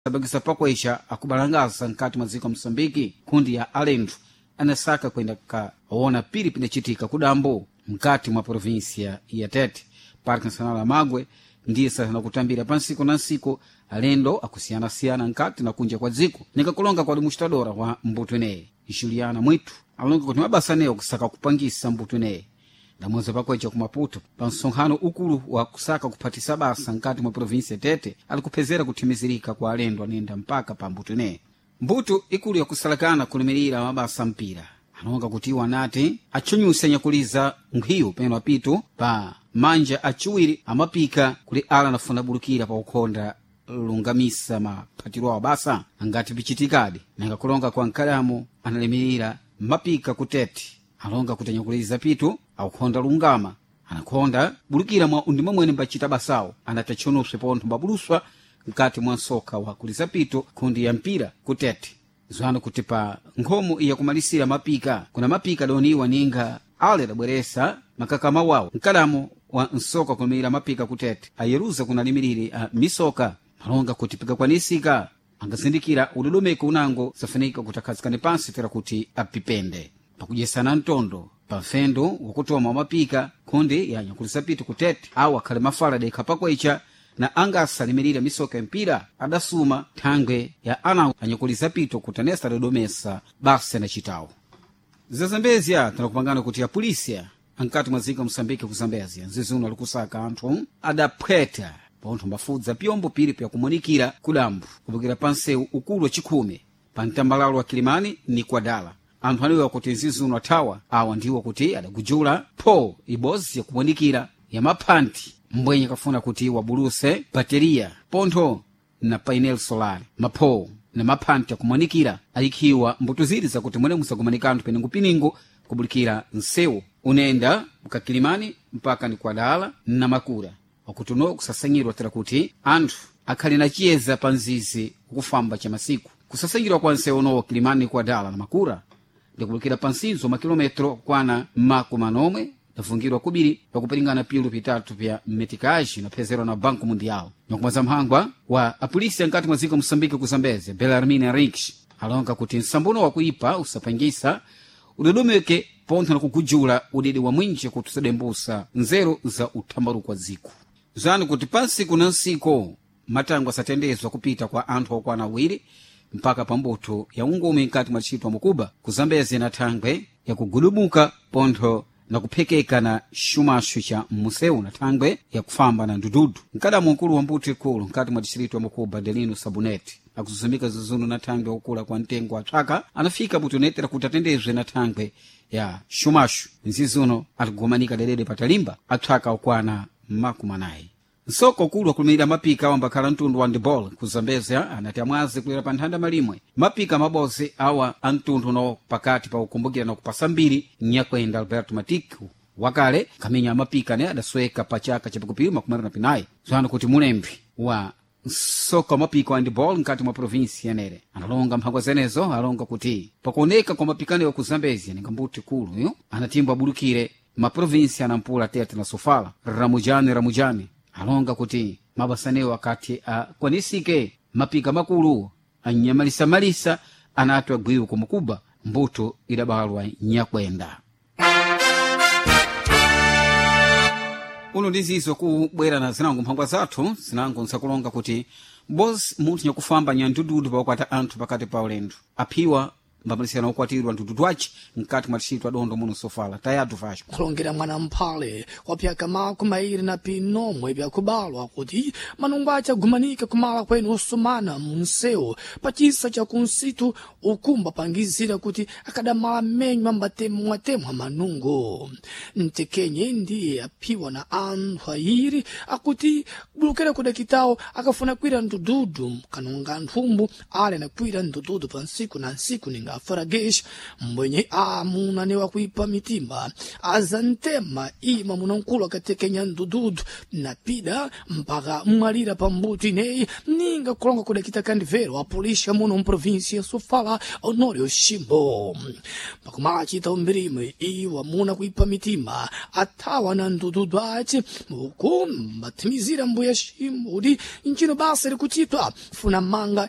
Sabakisa pakwesha akubalangasa mkati mwa dziko Moçambike kundi ya alendo anasaka kwenda kaona piri pinacitika kudambo mkati mwa província ya Tete. Parque Nacional ya Magwe ndiye sasa nakutambira pansiku na nsiku alendo akusiyanasiyana nkati na kunja kwa dziko. Nikakulonga kwa administradora wa mbuto ineyi Juliana Mwitu alonga kuti mabasa anewo kusaka kupangisa mbuto ineyi ndamweza pakwecha ku Maputo pa msonkhano ukulu wa kusaka kuphatisa basa nkati mwa província Tete alikuphezera kuthimizirika kwa alendo anenda mpaka pa mbuto ineyi. Mbuto ikulu yakusalakana kulimirira mabasa mpira alonga kuti iwo anati atchunyuse nyakuliza nkhwiyu peno apito pa manja aciwiri amapika kuli ala anafuna bulukira pa ukhonda lungamisa maphatiro awo basa angati pichitikadi. Nanga kulonga kwa nkalamu analimirira mapika kutete alonga kuti anyakuliza pitu akukhonda lungama anakhonda bulukira mwa undima mwene mbacita basawo anati atchonuswe pontho mbabuluswa mkati mwa nsoka wa kuliza pito kundi ya mpira kutete. Zwano kuti pa nkhomo iya kumalisira mapika kuna mapika adawoniwa ninga ale adabweresa makakama wawo mkalamo wa nsoka kulimirira mapika kutete ayeruza kuna limiriri a misoka malonga kuti pikakwanisika angazindikira udodomeko unango safunika kuti akhazikane pansi tera kuti apipende pakudyesana mtondo pa mfendo wakutoma wa mapika kundi ya nyakulisa pitu kutete awo akhale mafala dekha pakwecha na angasa limirira misoka ya mpira adasuma thangwe ya ana anyakuliza pito kuti anesa adodomesa basa anacitawo. Zazambezia tinakupangana kuti apolisia ankati mwa dziko Moçambique ku Zambezia nzizuno alikusaka anthu adaphweta pontho mbafudza pyombo piri pyakumonikira kudambo kupokera pa nsewu ukulu wa chikhume pa mtambalalo wa Kilimani ni Kwadala. Anthu anewa kuti nzizuno athawa awa ndiwo kuti adagujula pho ibozi yakumonikira ya maphanthi mbwenye kafuna kuti wabuluse bateriya pontho na painel solar mapho na maphanthi akumonikira ayikhiwa mbuto ziri zakuti mwene musakumanika anthu penengopiningo kubulikira nsewu unenda mkakilimani mpaka ni Kwadala na Makura wakuti uno kusasanyirwa tera kuti anthu akhale na chiyeza pa nzizi ukufamba cha masiku. Kusasanyirwa kwa nsewu unowo Kilimani Kwadala na Makura ndikubulikira pa nsinzo makilometro kwana makumi anomwe dafungirwa kubiri pakupiringana pilu pitatu pya metikaji naphezerwa na Banco Mundial. Nyakumaza mphangwa wa apolisi ankati mwa dziko Moçambique ku Zambezia Belarmine Henriques alonga kuti nsambuno wakuipa usapangisa udodomeke pontho na kugujula udidi wa mwinji kuti usadembusa nzeru za uthambaruko wa dziko. Zanu kuti pansiku na nsiku matango asatendezwa kupita kwa anthu okwana awiri mpaka pa mbuto ya ungumi mkati mwa tchito mukuba ku Zambezia na thangwe yakugudumuka pontho na kuphekeka na xumaxu cha museu na thangwe yakufamba na ndududu. Mkadamu mkulu wa mbuto ikulu mkati mwa distrito ya Mukuba Delino Sabuneti akuzuzumika zizunu na thangwe wakula kwa mtengo wa tswaka anafika butonetera kuti atendezwe na thangwe ya xumaxu nzizuno atikugomanika dedede patalimba atswaka okwana makumi anayi. Nsoko ukulu wakulimirira mapika awambakhala mtundu wa handball ku Zambezia anati amwazi kulera pa nthanda malimwe mapika mabozi awa a mtundu uno pakati pa kukumbukira na kupasa mbiri nyakwenda Alberto Matiku wakale kaminya amapika ne adasweka pa chaka chapikupiri makumi na pinayi. Zwano kuti mulembi wa msoka wa mapiko wa handball mkati mwa provinsi yanere analonga mphangwa zenezo alonga kuti pakuoneka kwa mapikano ku Zambezia ninga mbuti kulu yo anatimba abulukire maprovinsi anampula Tete na Sofala. Ramujani Ramujani alonga kuti mabasanewo akati akwanisike mapika makulu anyamalisamalisa anati agwiwe kumukuba mbuto idabalwa nyakwenda. Uno ndizizo kubwera na zinango mphangwa zathu zinango nsakulonga kuti bozi munthu nyakufamba nyandududu pakukwata anthu pakati pa ulendo aphiwa mbamalisirana okwatirwa ndududu aci mkati mwa tchito adondo muno Sofala tayatu Vasco Kulongera mwana mphale wa pyaka makumi airi na pinomwe byakubalwa kuti manungo ace agumanika kumala kwenu osumana munsewu pacisa cha kunsitu ukumba pangizira kuti akadamala menyu ambatemwatemwa manungo. Mtekenye ndiye aphiwa na anthu ayiri akuti kubulukira kudakitawo akafuna kwira ndududu kanonga nthumbu ale nakwira ndududu pa nsiku na nsiku ninga afaragesh mbwenye amuna ne wakuipa mitima azantema ima munankulu akatekenya ndududu napida mpaka mwalira pambuto ineyi ninga kulonga kudakita kandivero apulisha muno mprovinsia ya Sofala Honório Ximbo. Pakumachita umbirime iwa muna kuipa mitima athawa na ndududu ace uku mbathimizira mbuya Ximbo kuti ncino basa likuchitwa funa manga.